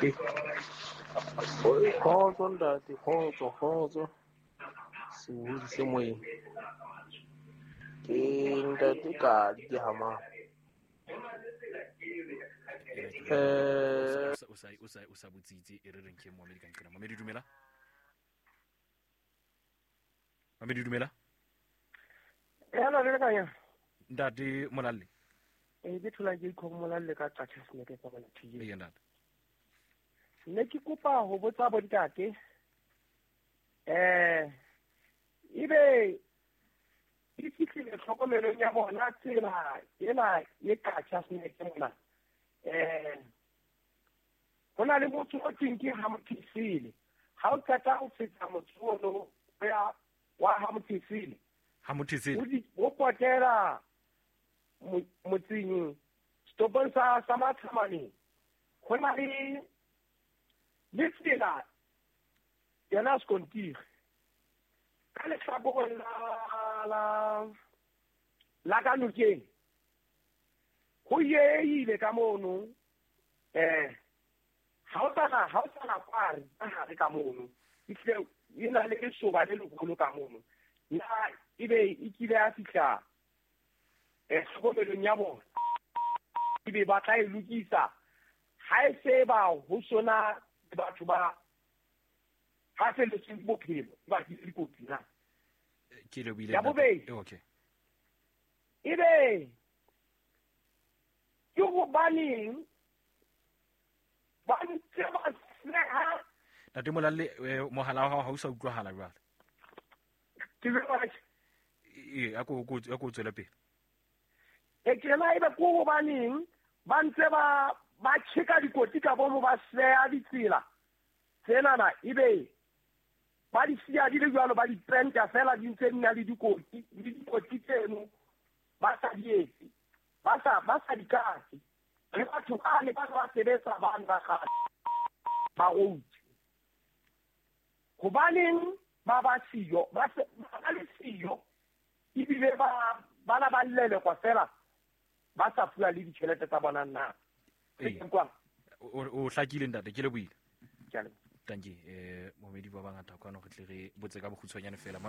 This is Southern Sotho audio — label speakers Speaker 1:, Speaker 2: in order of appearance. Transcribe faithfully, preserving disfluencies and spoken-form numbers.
Speaker 1: Ntate. Kgotso ntate, kgotso, kgotso. Sebohodi se moyeng. Ke ntate Kadi ke hamang. Eh
Speaker 2: o sa o sa o sa botsitse e re reng ke momedi ka nqena. Momedi dumela. Momedi dumela.
Speaker 3: Hello le kanya.
Speaker 2: Ntate Molalle.
Speaker 3: E ke thola ke ikho Molalle ka Qacha Snake ka bona T V.
Speaker 2: Ee ntate.
Speaker 3: Ne ke kopa ho botsa bo ntate. Eh ebe e fihlile tlhokomelong ya bona tsela ena e Qacha Snake mona. Eh ho na le motho o teng ke ha Mothisile. Ha o qeta ho feta motho ono ya wa ha Mothisile.
Speaker 2: Ha Mothisile.
Speaker 3: O potela motseng stopong sa sa Mathamane. Ho na le le tsela yona skontiri. Ka lehlakoreng la la la ka nokeng. Ho yeile ka mono eh ha o tsana ha o tsana kware ka hare ka mono itle ina le lesoba le leholo ka mono na ebe e kile ya fihla eh tlhokomelong ya bona ebe ba tla e lokisa ha e se ba ho sona batho ba ha felletseng bophelo ba ke dikotsi na
Speaker 2: ke le buile
Speaker 3: ya bobedi
Speaker 2: okay
Speaker 3: ebe ke hobaneng ba ntse ba seha
Speaker 2: Ntate Molalle mohala wa hao ha o sa utlwahala jwale
Speaker 3: ke jwale
Speaker 2: e a ko a ko tswela pele
Speaker 3: e ke na ebe ko hobaneng ba ntse ba ba tjheka dikoti ka bomo ba seha ditsela tsena na ebe ba di siya di le jwalo ba di penta fela di ntse di na le dikoti le dikoti tseno ba sa di etse ba sa ba sa di kase le batho ba ne ba ba sebetsa ba ba kgale ba route hobaneng ba ba siyo ba se ba le siyo ebile ba ba la ba lelekwa fela ba sa fuwa le ditjhelete tsa bona na
Speaker 2: o hlakile ntate ke le buile
Speaker 3: ke a leboha
Speaker 2: tanki eh momedi ba bangata kwano re tle re botse ka bokgutshwanyane fela.